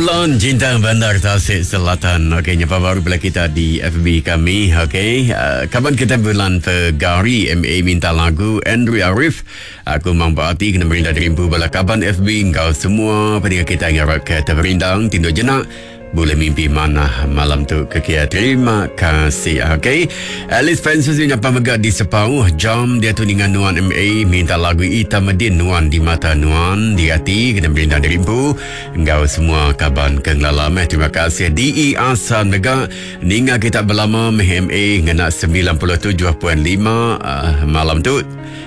Roland Jintang Bandar Tasik Selatan. Okey, nyapa baru pula kita di FB kami. Okey, uh, kaban kita bulan Februari MA minta lagu Andrew Arif. Aku mang berarti kena merindang dirimpu bala kaban FB engkau semua pendengar kita ngarap ke terperindang tinduk jenak Boleh mimpi manah malam tu ke kia. Terima kasih. Okey. Alice Francis nyapa mega di Sepau. Jam dia tu dengan Nuan MA minta lagu Ita Medin Nuan di mata Nuan di hati kena merindang dirimpu enggau semua kaban ke ngelala meh. Terima kasih DE Asan mega ninga kita belama meh MA ngena 97.5 uh, malam tu.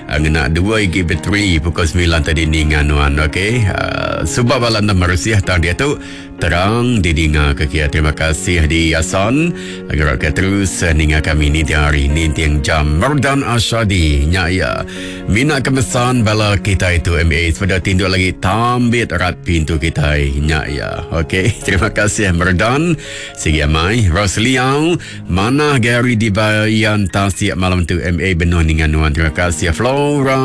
Uh, ngena dua igi bateri pukul 9 tadi ninga nuan okey. Uh, sebab bala nama Rusiah tang dia tu Terang didinga ke kia. Terima kasih di Yason. Agar ke terus ninga kami ni tiang hari ni tiang jam. Merdan Asyadi. Nya ya. Mina kemesan bala kita itu MA. Sepeda tinduk lagi tambit rat pintu kita. Nya ya. Okey. Terima kasih Merdan. Sigi amai. Rosliau. Mana Gary di Bayan Tasik malam tu MA benuh ninga nuan. Terima kasih Flora.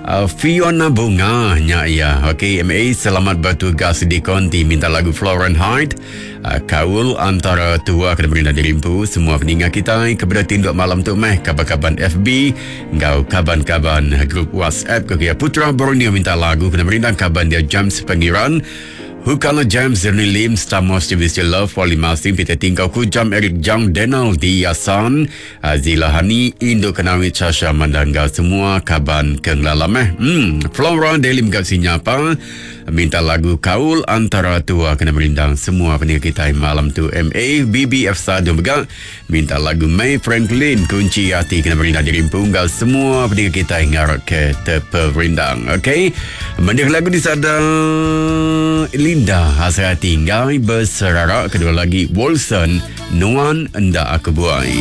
Uh, Fiona Bunga nya ya. Okey MA selamat bertugas di konti minta lagu Florent Hyde. Uh, kaul antara tua kena beri diri empu semua peninga kita kepada tinduk malam tu meh kaban-kaban FB ngau kaban-kaban grup WhatsApp ke Putra Borneo minta lagu kena merindang kaban dia James Pengiran. Hukala James Zerni Lim Stamos TV Love Wali Masing Peter Tingkau Kujam Eric Jang Denal di Yasan Azila Hani Indo Kenawi Chasha Mandangga semua kaban ke ngelalam eh. Hmm, Flora Delim kat sinyapa minta lagu Kaul Antara Tua kena merindang semua pendengar kita malam tu MA BBF Sadu mega minta lagu May Franklin Kunci Hati kena merindang diri punggal semua pendengar kita ngarap ke terperindang. Okey. Mendengar lagu di sada Linda Hasrati Ngai Berserarak kedua lagi Wilson Nuan Enda Aku Buai.